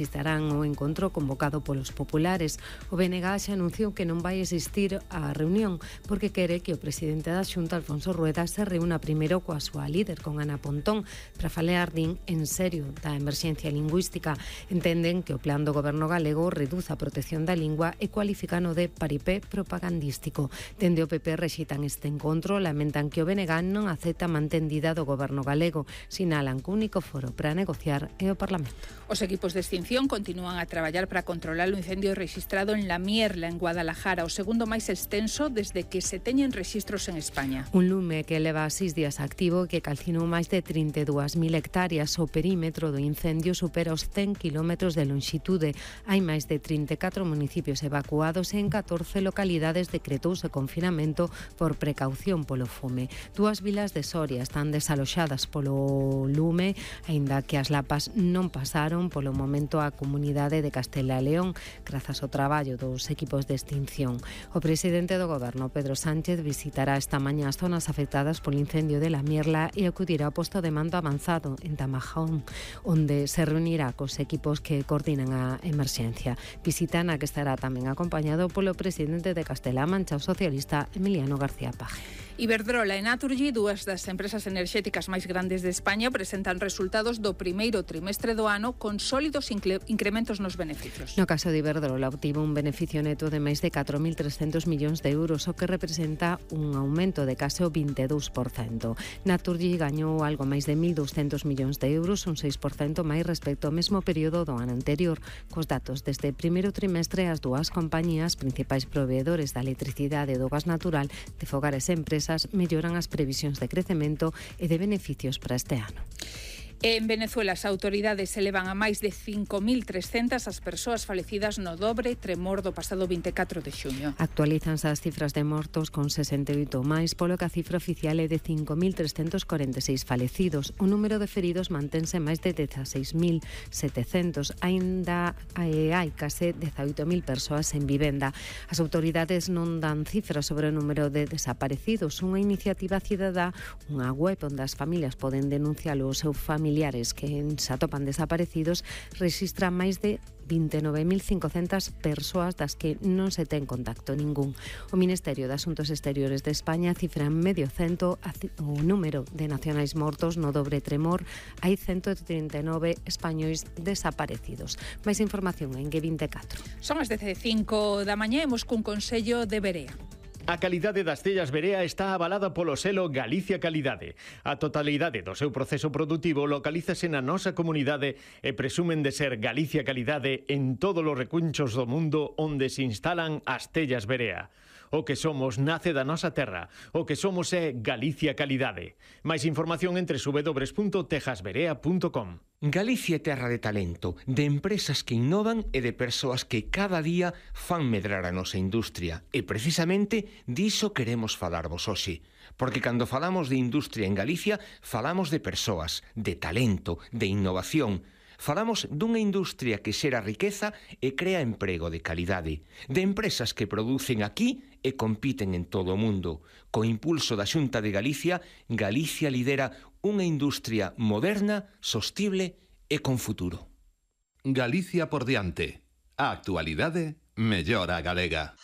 Estarán o encontro convocado polos populares. O BNG xa anunciou que non vai existir a reunión porque quere que o presidente da Xunta, Alfonso Rueda, se reúna primeiro coa súa líder, con Ana Pontón, para falar en serio da emerxencia lingüística. Entenden que o plan do goberno galego reduza a protección da lingua e cualificano de paripé propagandístico. Dende o PP rexeitan este encontro, lamentan que o BNG non acepta a mantendida do goberno galego. Sinalan que o único foro para negociar é o Parlamento. Os equipos de extinción continúan a traballar para controlar o incendio rexistrado en La Mierla, en Guadalajara, o segundo máis extenso desde que se teñen rexistros en España. Un lume que leva 6 días activo que calcinou máis de 32.000 hectáreas. O perímetro do incendio supera os 100 km de longitude. Hai máis de 34 municipios evacuados e en 14 localidades decretouse confinamento por precaución polo fume. 2 vilas de Soria están desaloxadas polo lume, aínda que as lapas non pasaron polo momento a comunidade de Castela e León, grazas ao traballo dos equipos de extinción. O presidente do goberno, Pedro Sánchez, visitará esta mañá as zonas afectadas polo incendio de La Mierla e acudirá ao posto de mando avanzado en Tamajón, onde se reunirá cos equipos que coordinan a emerxencia. Visita na que estará tamén acompañado polo presidente de Castela-A Mancha, o socialista Emiliano García Paje. Iberdrola e Naturgy, dúas das empresas enerxéticas máis grandes de España, presentan resultados do primeiro trimestre do ano con sólidos incrementos nos beneficios. No caso de Iberdrola, obtivo un beneficio neto de máis de 4.300 millóns de euros, o que representa un aumento de case o 22%. Naturgy gañou algo máis de 1.200 millóns de euros, un 6% máis respecto ao mesmo período do ano anterior. Cos datos deste primeiro trimestre, as dúas compañías principais proveedores da electricidade e do gas natural de fogares e empresas melloran as previsións de crecemento e de beneficios para este ano. En Venezuela, as autoridades elevan a máis de 5.300 as persoas falecidas no dobre tremor do pasado 24 de xuño. Actualízanse as cifras de mortos con 68 máis, polo que a cifra oficial é de 5.346 falecidos. O número de feridos mantense máis de 16.700. Aínda hai case 18.000 persoas en vivenda. As autoridades non dan cifras sobre o número de desaparecidos. Unha iniciativa cidadá, unha web onde as familias poden denunciar o seu familiares que se atopan desaparecidos, rexistra máis de 29.500 persoas das que non se ten contacto ningún. O Ministerio de Asuntos Exteriores de España cifra en medio cento o número de nacionais mortos no dobre tremor. Hai 139 españois desaparecidos. Máis información en G24. Son as 15 da mañá, imos cun consello de Berea. A calidade das tellas Berea está avalada polo selo Galicia Calidade. A totalidade do seu proceso produtivo localízase na nosa comunidade e presumen de ser Galicia Calidade en todos os recunchos do mundo onde se instalan as tellas Berea. O que somos nace da nosa terra. O que somos é Galicia Calidade. Máis información entre www.tejasberea.com. Galicia é terra de talento, de empresas que innovan e de persoas que cada día fan medrar a nosa industria. E precisamente diso queremos falarvos hoxe. Porque cando falamos de industria en Galicia, falamos de persoas, de talento, de innovación. Falamos dunha industria que xera riqueza e crea emprego de calidade, de empresas que producen aquí e compiten en todo o mundo. Co impulso da Xunta de Galicia, Galicia lidera unha industria moderna, sostible e con futuro. Galicia por diante. A actualidade mellora a galega.